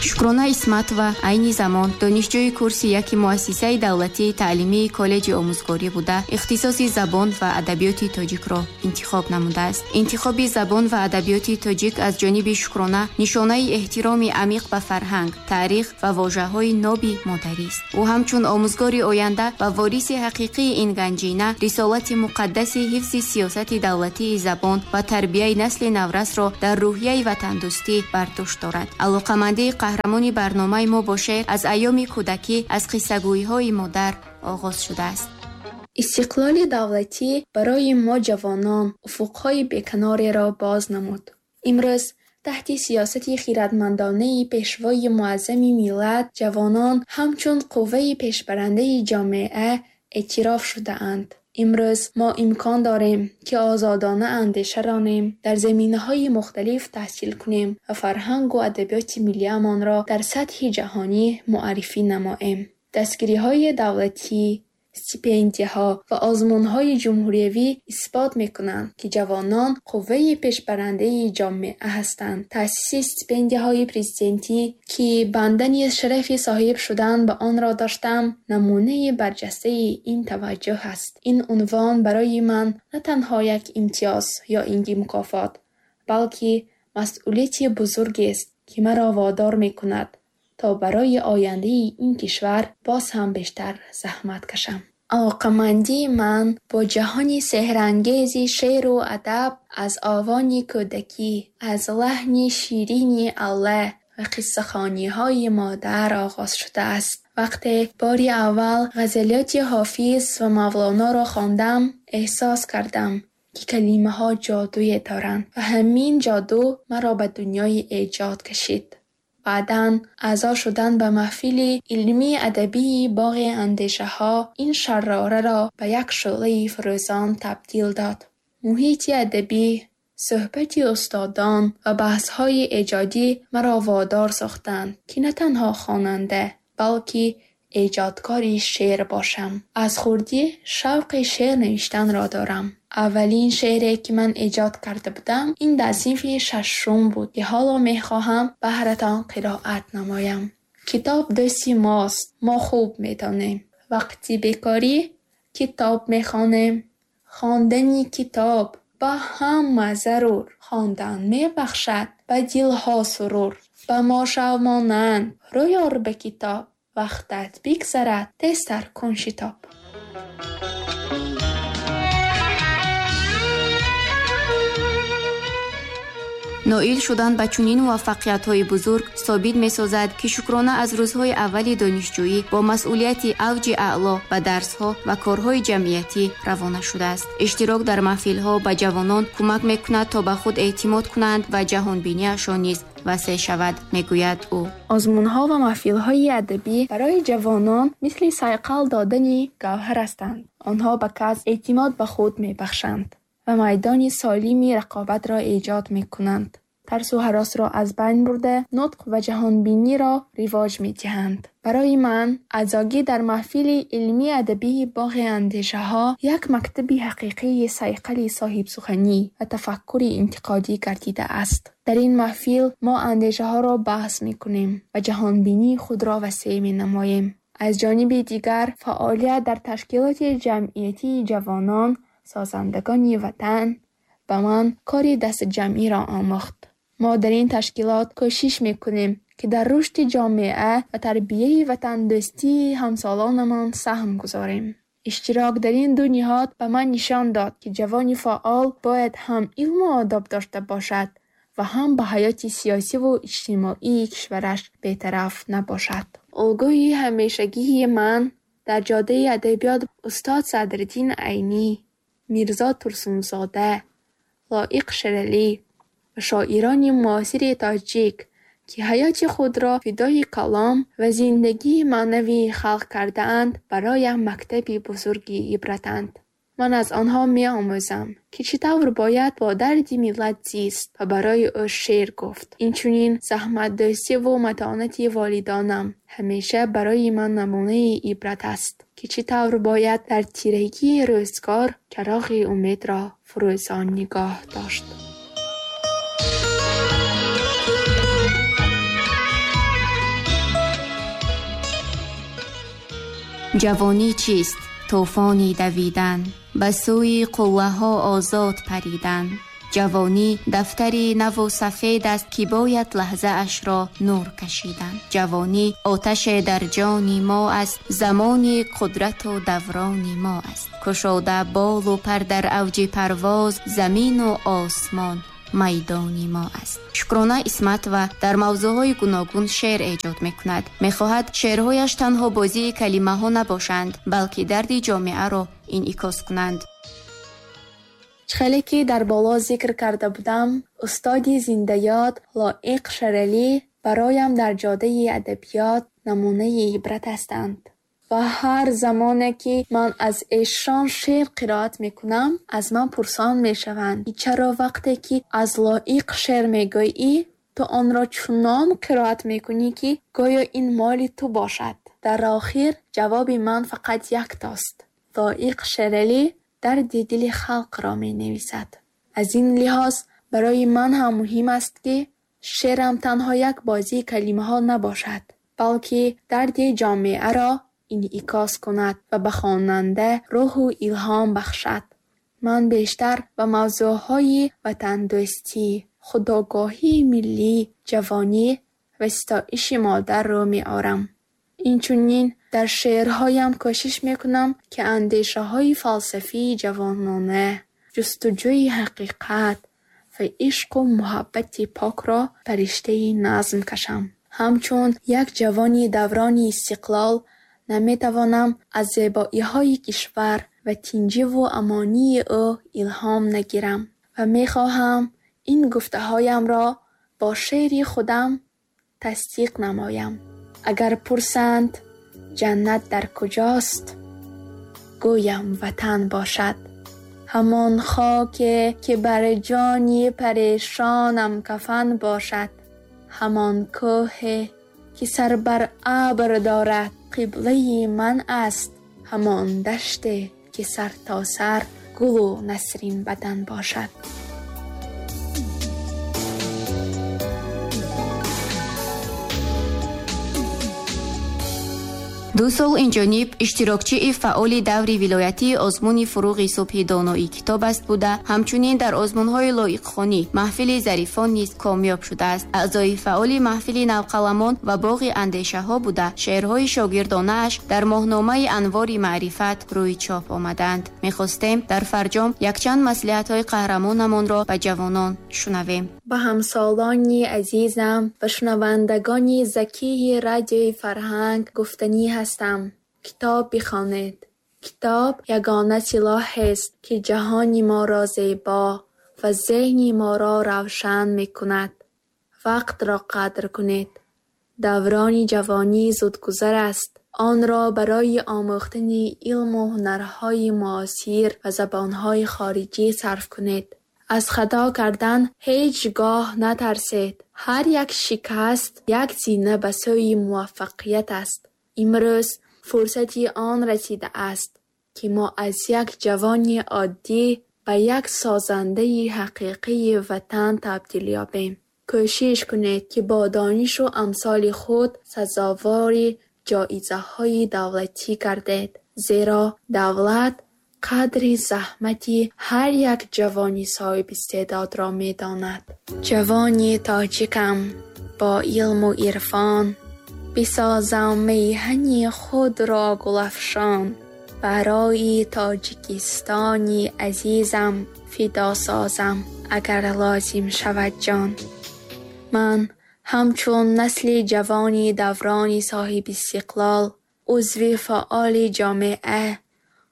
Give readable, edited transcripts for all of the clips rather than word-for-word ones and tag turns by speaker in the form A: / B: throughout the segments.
A: Шукрона Исматова айни замон донишҷӯи курси яки муассисаи давлатии таълимии коллеҷи омӯзгорӣ буда, ихтисоси забон ва адабиёти тоҷикро интихоб намудааст. Интихоби забон ва адабиёти тоҷик аз ҷониби Шукрона нишонаи эҳтироми амиқ ба фарҳанг, таърих ва вожаҳои ноби модарист. Ӯ ҳамчун омӯзгори оянда ва вориси ҳақиқии ин ганҷина рисолати муқаддаси ҳифзи сиёсати давлатии забон ва тарбияи насли наврасро дар рӯҳияи ватандӯстӣ бар дӯш дорад. Алоқамандии қаҳрамони барномаи мо бо шеър аз айёми кӯдакӣ аз қиссагӯиҳои модар оғоз шудааст.
B: Истиқлоли давлатӣ барои мо ҷавонон уфуқҳои беканореро боз намуд. Имрӯз таҳти сиёсати хирадмандонаи Пешвои Муаззами миллат ҷавонон ҳамчун қувваи пешбарандаи ҷомеа эътироф шудаанд. Имрӯз мо имкон дорем, ки озодона андеша ронем, дар заминаҳои мухталиф таҳсил кунем ва фарҳангу адабиёти миллиамонро дар сатҳи ҷаҳонӣ муаррифӣ намоем. Дастгириҳои давлатӣ, стипендияҳо ва озмунҳои ҷумҳуриявӣ исбот мекунанд, ки ҷавонон қувваи пешбарандаи ҷомеа ҳастанд. Таъсиси стипендияҳои президентӣ, ки банда низ шарафи соҳиб шудан ба онро доштам, намунаи барҷастаи ин таваҷҷӯҳ аст. Ин унвон барои ман на танҳо як имтиёз ё ин ки мукофот, балки масъулияти бузургест, ки маро водор мекунад, то барои ояндаи ин кишвар боз ҳам бештар заҳмат кашам. Алоқамандии ман бо ҷаҳони сеҳрангези шеъру адаб аз овони кӯдакӣ, аз лаҳни ширини алла ва қиссахониҳои модар оғоз шудааст. Вақте бори аввал ғазалиёти Ҳофиз ва Мавлоноро хондам, эҳсос кардам, ки калимаҳо ҷодуе доранд ва ҳамин ҷоду маро ба дунёи эҷод кашид. Баъдан аъзо шудан ба маҳфили илмӣ-адабии боғи андешаҳо ин шарораро ба як шӯълаи фурӯзон табдил дод. Муҳити адабӣ, суҳбати устодон ва баҳсҳои эҷодӣ маро водор сохтанд, ки на танҳо хонанда, балки эҷодкори шеър бошам. Аз хурдӣ шавқи шеър навиштанро дорам. Аввалин шеъре, ки ман эҷод карда будам, ин дар синфи шашум буд, ки ҳоло мехоҳам баҳратон қироат намоям. Китоб дӯсти мост, мо хуб медонем. Вақти бекорӣ китоб мехонем. Хондани китоб ба ҳама зарур. Хондан мебахшад ба дилҳо сурур. Ба мо шав монанд, рӯй ор ба китоб. Вақтат бигзарад, тезтар кун шитоб.
A: Ноил шудан ба чунин муваффақиятҳои бузург собит месозад, ки Шукрона аз рӯзҳои аввали донишҷӯӣ бо масъулияти авҷи аъло ба дарсҳо ва корҳои ҷамъиятӣ равона шудааст. Иштирок дар маҳфилҳо ба ҷавонон кӯмак мекунад, то ба худ эътимод кунанд ва ҷаҳонбиниашон низ васеъ шавад, мегӯяд ӯ.
B: Озмунҳо ва маҳфилҳои адабӣ барои ҷавонон мисли сайқал додани гавҳар ҳастанд. Онҳо ба кас эътимод ба худ мебахшанд ва майдони солими рақобатро эҷод мекунанд. Тарсу ҳаросро аз байн бурда, нутқ ва ҷаҳонбиниро ривоҷ медиҳанд. Барои ман аъзогӣ дар маҳфили илмӣ-адабии боғи андешаҳо як мактаби ҳақиқии сайқали соҳибсуханӣ ва тафаккури интиқодӣ гардидааст. Дар ин маҳфил мо андешаҳоро баҳс мекунем ва ҷаҳонбинии худро васеъ менамоем. Аз ҷониби дигар, фаъолият дар ташкилоти ҷамъиятии ҷавонон, созандагони ватан ба ман кори дастаҷамъиро омӯхт. Мо дар ин ташкилот кӯшиш мекунем, ки дар рушди ҷомеа ва тарбияи ватандӯстии ҳамсолонамон саҳм гузорем. Иштирок дар ин ду ниҳод ба ман нишон дод, ки ҷавони фаъол бояд ҳам илму одоб дошта бошад ва ҳам ба ҳаёти сиёсиву иҷтимоии кишвараш бетараф набошад. Олгӯи ҳамешагии ман дар ҷодаи адабиёт устод Садриддин Айнӣ, Мирзо Турсунзода, Лоиқ Шералӣ ва шоирони муосири тоҷик, ки ҳаёти худро фидои калом ва зиндагии маънавии халқ кардаанд, бароям мактаби бузурги ибратанд. Ман аз онҳо меомӯзам, ки чӣ тавр бояд бо дарди миллат зист ва барои ӯ шеър гуфт. Инчунин заҳматдӯстиву матонати волидонам ҳамеша барои ман намунаи ибрат аст, ки чӣ тавр бояд дар тирагии рӯзгор чароғи умедро фурӯзон нигоҳ дошт.
A: Ҷавонӣ чист? Тӯфони давидан, ба сӯи қуллаҳо озод паридан. Ҷавонӣ дафтари наву сафед аст, ки бояд лаҳзаашро нур кашидан. Ҷавонӣ оташе дар ҷони мо аст, замони қудрату даврони мо аст. Кушода болу пар дар авҷи парвоз, замину осмон майдони мо аст. Шукрона Исматова дар мавзӯъҳои гуногун шеър эҷод мекунад. Мехоҳад шеърҳояш танҳо бозии калимаҳо набошанд, балки дарди ҷомеаро инъикос кунанд.
B: Хеле ки дар боло зикр карда будам, устоди зиндаёд Лоиқ Шералӣ бароям дар ҷодаи адабиёт намунаи ибрат ҳастанд. Ва ҳар замоне ки ман аз эшон шеър қироат мекунам, аз ман пурсон мешаванд, ки чаро вақте ки аз Лоиқ шеър мегӯӣ, ту онро чунон қироат мекунӣ, ки гӯё ин моли ту бошад. Дар охир ҷавоби ман фақат яктост. Лоиқ Шералӣ дарди дили халқро менависад. Аз ин лиҳоз барои ман ҳам муҳим аст, ки шеърам танҳо як бозии калимаҳо набошад, балки дарди ҷомеаро инъикос кунад ва ба хонанда рӯҳу илҳом бахшад. Ман бештар ба мавзӯъҳои ватандӯстӣ, худогоҳии миллӣ, ҷавонӣ ва ситоиши модар рӯ меорам. Инчунин дар шеърҳоям кӯшиш мекунам, ки андешаҳои фалсафии ҷавонона, ҷустуҷӯи ҳақиқат ва ишқу муҳаббати покро ба риштаи назм кашам. Ҳамчун як ҷавони даврони истиқлол наметавонам аз зебоиҳои кишвар ва тинҷиву амонии ӯ илҳом нагирам ва мехоҳам ин гуфтаҳоямро бо шеъри худам тасдиқ намоям. Агар пурсанд ҷаннат дар куҷост, гӯям ватан бошад. Ҳамон хоке ки бар ҷони парешонам кафан бошад. Ҳамон кӯҳе ки сар бар абр дорад қиблаи ман аст. Ҳамон даште ки сар то сар гулу насрин бадан бошад.
A: Ду сол инҷониб иштирокчии фаъоли даври вилоятии озмуни фуруғи субҳи доноӣ китоб аст буда, ҳамчунин дар озмунҳои лоиқхонӣ маҳфили зарифон низ комёб шудааст. Аъзои фаъоли маҳфили навқаламон ва боғи андешаҳо буда, шеърҳои шогирдонааш дар моҳномаи Анвори маърифат рӯи чоп омаданд. Мехостем дар фарҷом якчанд маслиҳатҳои қаҳрамонамонро ба ҷавонон шунавем.
B: Ба ҳамсолони азизам ва шунавандагони закии радиои Фарҳанг гуфтанӣ ҳастам. Китоб бихонед. Китоб ягона силоҳест, ки ҷаҳони моро зебо ва зеҳни моро равшан мекунад. Вақтро қадр кунед. Даврони ҷавонӣ зудгузар аст. Онро барои омӯхтани илму ҳунарҳои муосир ва забонҳои хориҷӣ сарф кунед. Аз хато кардан ҳеҷ гоҳ натарсед. Ҳар як шикаст як зина ба сӯи муваффақият аст. Имрӯз фурсати он расидааст, ки мо аз як ҷавони оддӣ ба як созандаи ҳақиқии ватан табдил ёбем. Кӯшиш кунед, ки бо донишу амсоли худ сазовори ҷоизаҳои давлатӣ гардед, зеро давлат қадри заҳмати ҳар як ҷавони соҳибистеъдодро медонад. Ҷавони тоҷикам бо илму ирфон, бисозам меҳани худро гулафшон. Барои Тоҷикистони азизам фидо созам, агар лозим шавад ҷон. Ман ҳамчун насли ҷавони даврони соҳибистиқлол, узви фаъоли ҷомеа,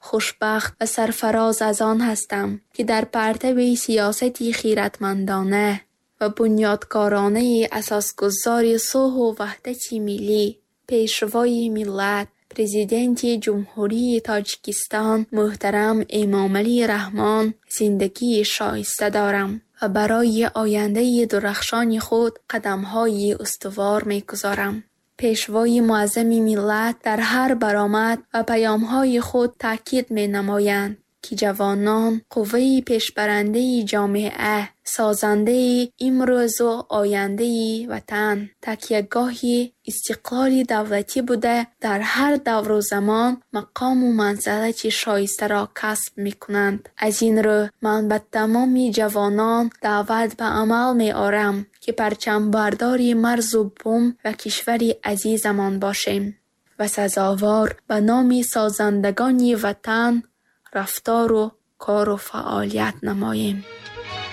B: хушбахт ва сарфароз аз он ҳастам, ки дар партави сиёсати хиратмандона ва бунёдкоронаи асосгузори сулҳу ваҳдати миллӣ, пешвои миллат, Президенти Ҷумҳурии Тоҷикистон муҳтарам Эмомалӣ Раҳмон зиндагии шоиста дорам ва барои ояндаи дурахшони худ қадамҳои устувор мегузорам. Пешвои муаззами миллат дар ҳар баромад ва паёмҳои худ таъкид менамоянд, Ки ҷавонон қувваи пешбарандаи ҷомеа, созандаи имрӯзу ояндаи ватан, такягоҳи истиқлоли давлатӣ буда, дар ҳар давру замон мақому манзалати шоистаро касб мекунанд. Аз ин рӯ, ман ба тамоми ҷавонон даъват ба амал меорам, ки парчамбардори марзу бум ва кишвари азизамон бошем ва сазовор ба номи созандагони Ватан рафтору кору фаъолият намоем.